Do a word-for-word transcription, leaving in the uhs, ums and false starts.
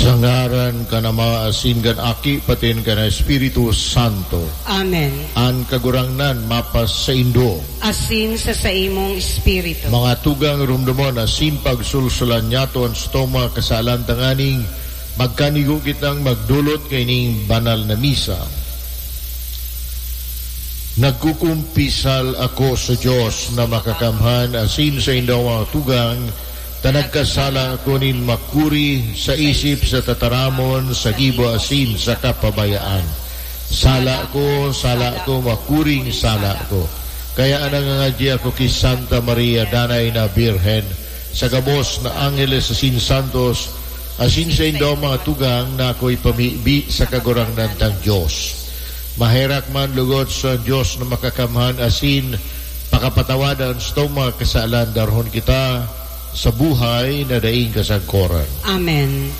Sa ngaran kan Ama, asin kan Aki, patin kan Espiritu Santo. Amen. An Kagurangnan mapasaindo. Asin sa saimong espiritu. Mga tugang, rumdomon asin pagsulsulan niyato an sitong mga kasalan tanganing magkanigo kitang magdolot kaining banal na misa. Nagkukumpisal ako sa Dios na makakamhan asin sa indawang mga tugang, ta nagkasala ako nin makuri sa isip, sa tataramon, sa gibo asin sa kapabayaan. Sala ko, sala ko, makuring sala ko. Kaya nangangadyi ako ki Santa Maria, Danay na Birhen, sa gabos na angheles asin santos, asin sa indawang mga tugang na ako ipamibi sa Kagurangnan tang Dios. Maherak man lugod sa Dios na makakamhan asin pakapatawadan sa mga kasalan, darhon kita sa buhay na daing kasagkoran. Amen.